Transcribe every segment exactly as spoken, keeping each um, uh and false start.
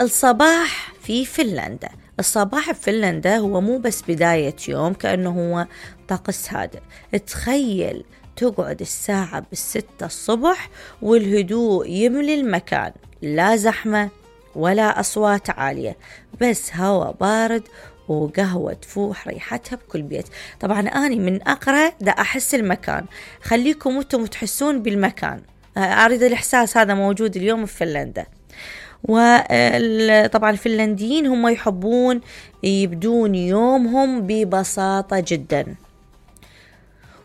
الصباح في فنلندا. الصباح في فنلندا هو مو بس بداية يوم، كأنه هو طقس هادئ. تخيل تقعد الساعة بالستة الصبح والهدوء يملي المكان، لا زحمة ولا أصوات عالية، بس هوا بارد وقهوة تفوح ريحتها بكل بيت. طبعا أنا من أقرأ دا أحس المكان، خليكم أنتم تحسون بالمكان. أريد الإحساس هذا موجود اليوم في فنلندا. وطبعا الفنلنديين هم يحبون يبدون يومهم ببساطة جدا.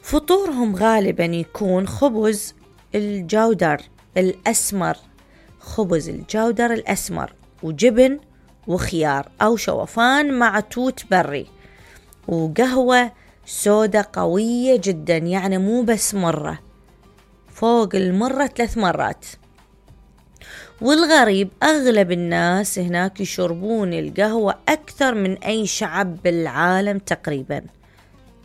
فطورهم غالبا يكون خبز الجودر الأسمر، خبز الجودر الأسمر وجبن وخيار أو شوفان مع توت بري، وقهوة سودا قوية جدا، يعني مو بس مرة، فوق المرة ثلاث مرات. والغريب أغلب الناس هناك يشربون القهوة أكثر من أي شعب بالعالم تقريبا.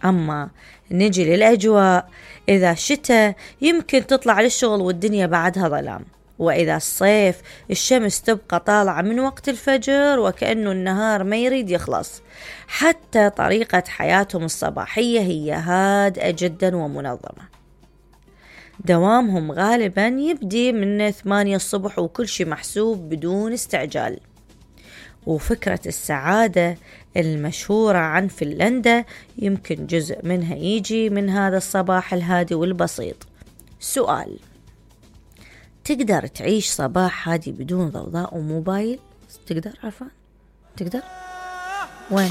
أما نجي للأجواء، إذا شتاء يمكن تطلع للشغل والدنيا بعدها ظلام، وإذا الصيف الشمس تبقى طالعة من وقت الفجر وكأنه النهار ما يريد يخلص. حتى طريقة حياتهم الصباحية هي هادئة جدا ومنظمة. دوامهم غالبا يبدي من ثمانية الصبح وكل شيء محسوب بدون استعجال. وفكرة السعادة المشهورة عن فنلندا يمكن جزء منها يجي من هذا الصباح الهادي والبسيط. سؤال: تقدر تعيش صباح هادي بدون ضوضاء وموبايل؟ تقدر عرفان؟ تقدر؟ وين؟